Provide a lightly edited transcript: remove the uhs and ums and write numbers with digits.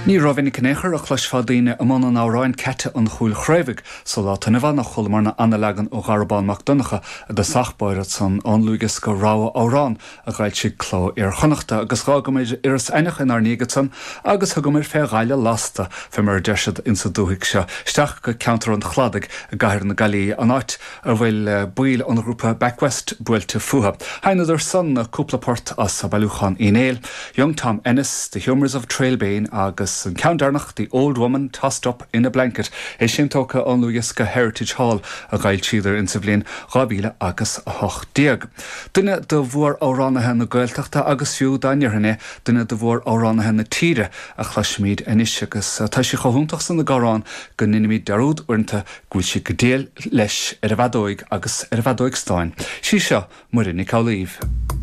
Ní rómhinic in aon chor a chloisfeá daoine i mbun an amhráin 'Ceaite an Chúil Chraobhaigh' sa lá atá inniu ann ach chualamarna ana-leagan ó Dhara Bán Mac Donncha i dtosach báire san ón ndlúthdhiosca Rogha Amhrán a dh'fhoilsigh Cló Iar-Chonnachta agus dh'fhágamair Iorras Aithneach inár ndiaidh ansan agus thugamair fé ghaile lasta, fé mar a deir siad insa dúthaigh seo, isteach go ceantar an Chladaigh i gcathair na Gaillimhe, an áit a bhfuil baill an ghrúpa Back West buailte fúthu. Sheinneadar san cúpla port as bailiúchán Uí Néill, Young Tom Ennis, The Humours of Trailbane agus an ceann deireanach The Old Woman Tossed Up in a Blanket, é sin tógtha ón ndlúthdhiosca Heritage Hall a dh'fhoilsíodar insa bhliain 2018. Duine de mhór-amhránaithe na Gaeltachta agus fiú dá ndéarfainn é, duine de mhór-amhránaithe na tíre a chloisfimid anois agus tá sí chomh hiontach san ag amhrán go ndeinimid dearúd uaireanta go bhfuil sí go diail leis ar an bhfeadóig agus ar an bhfeadóig stáin. Sí seo Muireann Nic Amhlaoibh.